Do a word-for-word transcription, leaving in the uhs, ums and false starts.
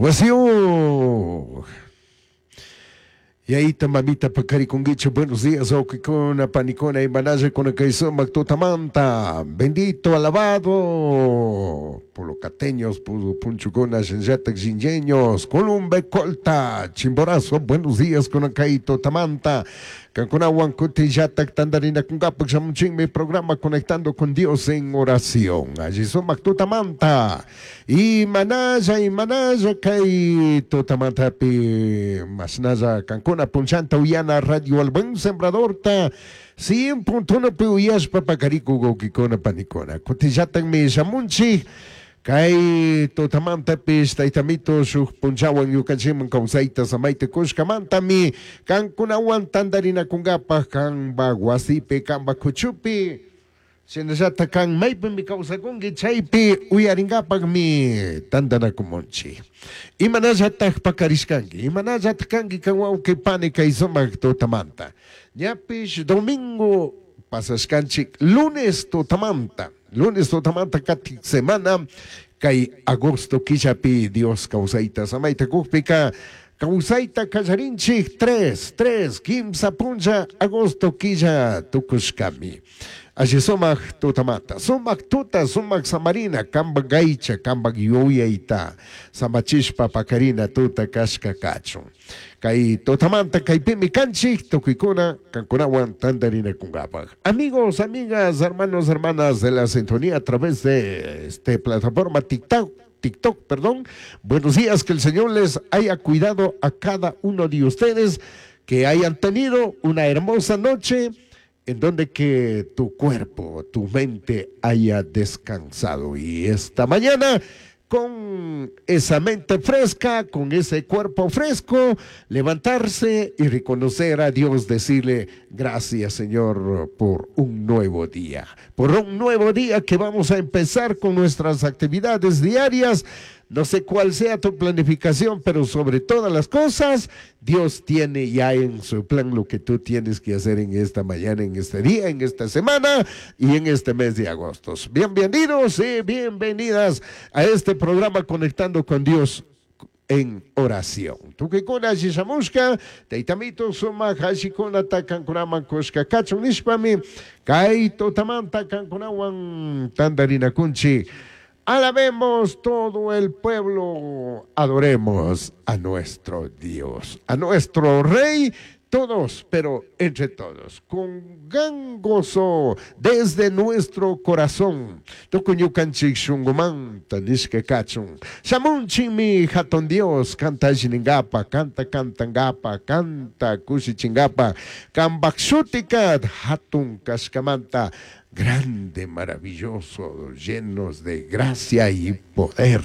Wasiyuq. Yayita mamita pakarikunkichu, buenos días, wawqikuna, panikuna, imanalla kuna kay sumak tutamanta. Bendito, alabado por los cateños, punchukuna, shinallatak shinlleños, Columbe, Colta, Chimborazo, buenos días kuna kay tutamanta. Kankunawan kutillatak tandarinakunkapak shamunchinmi programa Conectando con Dios en Oración. Alli sumak tutamanta. Imanalla, imanalla kay tutamantapi mashnalla kankuna punchanta uyana Radio El Buen Sembradorta cien punto uno pi uyashpa pakarikuk wawkikuna panikuna. Kutillatakmi shamunchik. Kay tutamantapish taytamito shuk punchawan ñukanchikman kawsayta samayta kushkamantami kankunawan tantarinakunkapaj kanpa wasipi kanpa kuchupi shinallatak kan maypimi kawsakunki chaypi uyarinkapakmi tantanakumunchik. Imanallatak pakarishkanki, imanallatak kanki kan wawqi pani kay sumak tutamanta. Ñapish domingo pasashkanchik lunes tutamanta. Lunes tutamanta katik semana kay agosto killapi Dios kawsayta samayta kukpika kawsayta kallarinchik tres, tres, kimsa puncha agosto killa tukushkami. Alli sumak tutamanta, sumak tuta, sumak samarina, kanpak aycha, kanpak yuyayta, samachishpa pakarina tuta kashka kachun. Kay tutamanta kaypimi kanchik, tukuykuna kankunawan tantarinakunkapaj. Amigos, amigas, hermanos, hermanas de la sintonía a través de esta plataforma TikTok, TikTok, perdón. Buenos días, que el Señor les haya cuidado a cada uno de ustedes, que hayan tenido una hermosa noche en donde que tu cuerpo, tu mente haya descansado. Y esta mañana, con esa mente fresca, con ese cuerpo fresco, levantarse y reconocer a Dios, decirle gracias, Señor, por un nuevo día, por un nuevo día que vamos a empezar con nuestras actividades diarias. No sé cuál sea tu planificación, pero sobre todas las cosas, Dios tiene ya en su plan lo que tú tienes que hacer en esta mañana, en este día, en esta semana y en este mes de agosto. Bienvenidos y bienvenidas a este programa Conectando con Dios en Oración. Tukuykuna shishamushka, taytamito sumak allikunata kankunaman kushka kachun nishpami, kay tutamanta kankunawan tantarinakunchik. Alabemos todo el pueblo, adoremos a nuestro Dios, a nuestro Rey, todos, pero entre todos, con gran gozo desde nuestro corazón. Tukuy ñukanchik shunkumanta nishka kachun. Shamunchikmi hatun Dios, kanta alliningapa, kanta kantangapa, kanta kushichingapa, kanpak shutika hatun kashkamanta, grande, maravilloso, llenos de gracia y poder.